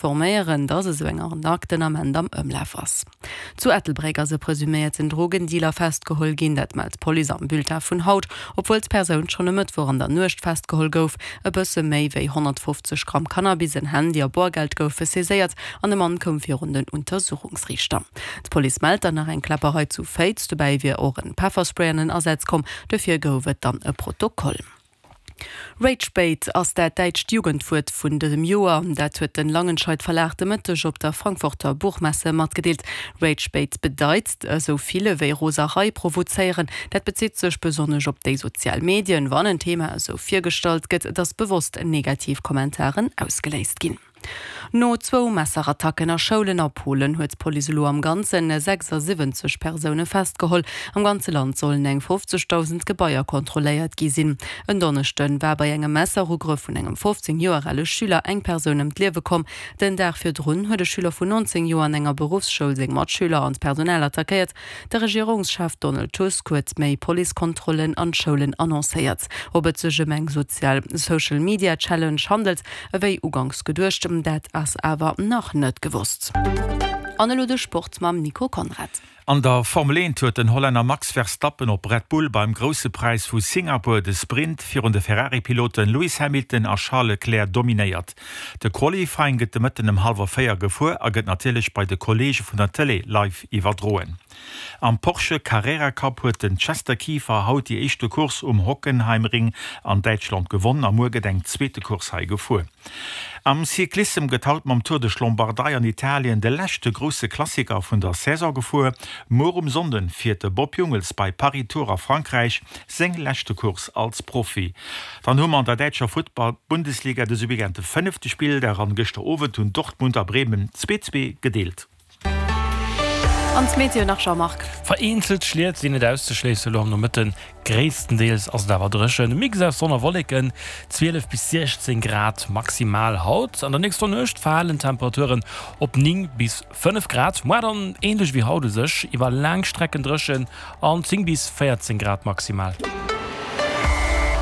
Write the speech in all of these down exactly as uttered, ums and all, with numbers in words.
Forméieren, dass esou eng Arnaque den Ament am Ëmlaf ass. Zu Ettelbréck ass e presuméierten Drogendealer festgeholl ginn, dat mellt d'Police am Bulletin vun haut. Obwuel d'Persoun schonn e Mëttwoch an der Nuecht festgeholl gouf. E bësse méi wéi honnertfofzeg Gramm Cannabis, en Handy a Boergeld goufe saiséiert an de Mann koum virun den Untersuchungsriichter. D'Police mellt dann nach eng Kläpperei zu Féiz, dobäi wier och en Pefferspray an den Asaz komm, dofir gouf et dann e Protokoll. Ragebait ass dat däitscht Jugendwuert vun dësem Joer. Dat huet den Langenscheidt Verlag de Mëtteg op der Frankfurter Buchmesse matgedeelt. Ragebait bedeit, esou vill ewéi Roserei provozéieren. Dat bezitt sech besonnesch op déi sozial Medien, wann en Thema esou virgestallt gëtt, dass bewosst negativ Kommentaren ausgeléist ginn. No zwou Messerattacken a Schoulen a Polen huet d'Police elo am Ganze sechsasiwwenzeg Persoune festgeholl. Am ganze Land sollen eng fofzegdausend Gebaier kontrolléiert gi sinn. En Donneschde war bei engem Messerugrëff vun engem fofzéng Joer ale Schüler eng Persoun ëm d'Liewe komm. Den Dag virdrun huet e Schüler vun nonzéng Joer an enger Beruffsschoul seng Matschüler an d'Personal attackéiert. De Regierungschef Donald Tusk huet méi Policekontrollen an d'Schoulen annoncéiert. Ob et sech ëm eng sozial Social Media Challenge handelt, ewéi uganks geduecht, dat ass awer nach net gewosst. An elo de Sport mam Nico Conrad. An der Formel eent huet den Hollänner Max Verstappen op Red Bull beim Grousse Präis vu Singapur de Sprint virun de Ferrari-Piloten Lewis Hamilton a Charles Leclerc dominéiert. De Qualifying gëtt de Mëtten ëm hallwer véier gefuer a gëtt natierlech bei de Kolleege vun der Tëlee live iwwerdroen. Am Porsche Carrera Cup huet den Chester Kieffer haut déi éischte Course um Hockenheimring an Däitschland gewonn a muer gëtt eng zweete Course hei gefuer. Am Cyclissem gëtt haut mam Tour de Lombardei an Italien de leschte grousse Klassiker vun der Saison gefuer. Muer um Sonnden fiert de Bob Jungels bei Paris-Tours a Frankräich seng leschte Course als Profi. Dann hu mer an der däitscher Futtball-Bundesliga dëse Weekend de fënnefte Spilldag an gëschter Owend hunn Dortmund a Bremen zwee zwee gedeelt. An d'Meteo nach, Jean-Marc. Vereenzelt Schliet sinn net auszeschléissen elo am Nomëtten. Gréisstendeels ass et awer dréchen, e Mix aus Sonn a Wolleken, zwielef bis siechzéng Grad maximal haut. An der nächster Nuecht falen d'Temperaturen op néng bis fënnef Grad, muar dann änlech wéi haut u sech, iwwer laang Strecken dréchen an zéng bis véierzéng Grad maximal.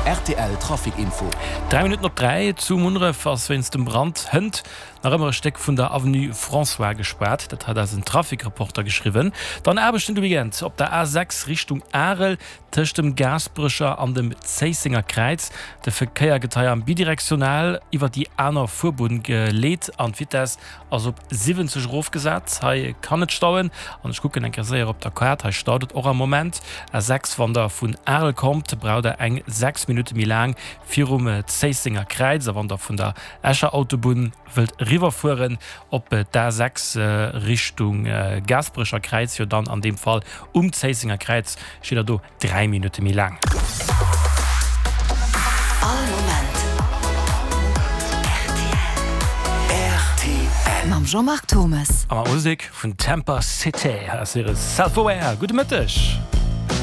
Rtl Trafic Info. Dräi Minutten op dräi, Zu Munneref ass wéinst dem Brand hënt nach ëmmer e Stéck vun der Avenue François gespaart. Dat hat eisen Trafic-Reporter geschriwwen. Dann Aarbechten de Weekend op der A sechs Richtung Arel tëscht dem Gaasperecher an dem Zéissenger Kräiz. De Verkéier gëtt hei am bidirektional iwwer déi aner Fuerbunn geleet an d'Vitess ass op siwwenzeg erofgesat. Hei kann et stauen an ech kucken eng Kéier séier op der Kaart, hei staut et och am Moment. A sechs, wann der vun Arel kommt, braucht der eng sechs Minutte méi laang virum Zéissenger Kräiz a wann der vun der Escher Autobunn wëllt eriwwerfueren op d'A sechs Richtung Gaasperecher Kräiz, jo dann an deem Fall um Zéissenger Kräiz, steet der do dräi Minutte méi laang. All Moment rtl. Mam Jean-Marc Thomes. A mat Musek vun Tampa City. Hei ass hire Self Aware. Gudde Mëtteg.